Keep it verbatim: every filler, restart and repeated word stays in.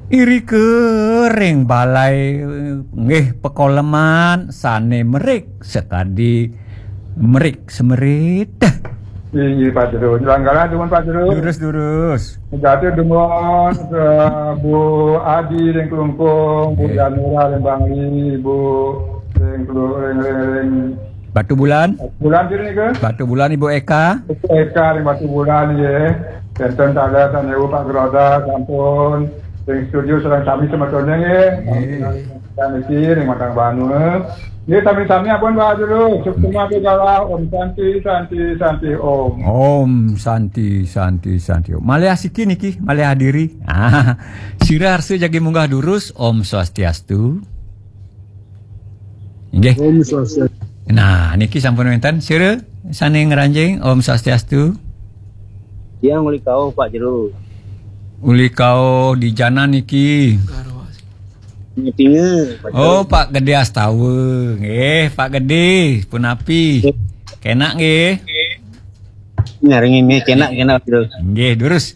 Irika ring balai nggih pakoleman sane merik sakadi merik semerit. Inggih, Pak Jero. Nyelanggaran dumun, Pak Jero. Durus, durus. Jati dumun ke Bu Adi ring Klungkung, Bu Nggih. Janura ring Bangli, Bu ring Klu-, ring, ring, ring Batu Bulan. Bulan diri nika. Batu Bulan, Ibu Eka. Ibu Eka ring Batu Bulan, nggih. Wenten taler sane Pak Groda sampun ring studio sareng sami semetone, nggih. Nggih. Dan niki ring Matang Banua. Nggih, sami-sami ampun, Pak Jero. Suksma Pegala, Om Santi, Santi, Santi, Om. Om Santi, Santi, Santi, Om. Malih asiki niki, malih adiri. Ah, sira arsa jagi munggah durus, Om Swastiastu. Nggih. Om Swastiastu. Nah, niki sampun wenten. Sira sane ngranjing, Om Swastiastu. Tiang uli kauh, Pak Jero. Uli kauh di jana niki. Ngetinga, Pak Jero. Oh, Pak Gede Astawa. Nggih, Pak Gede, punapi? Kenak nggih? Nyaring ini kenak, kenak, Pak Jero. Nggih, durus.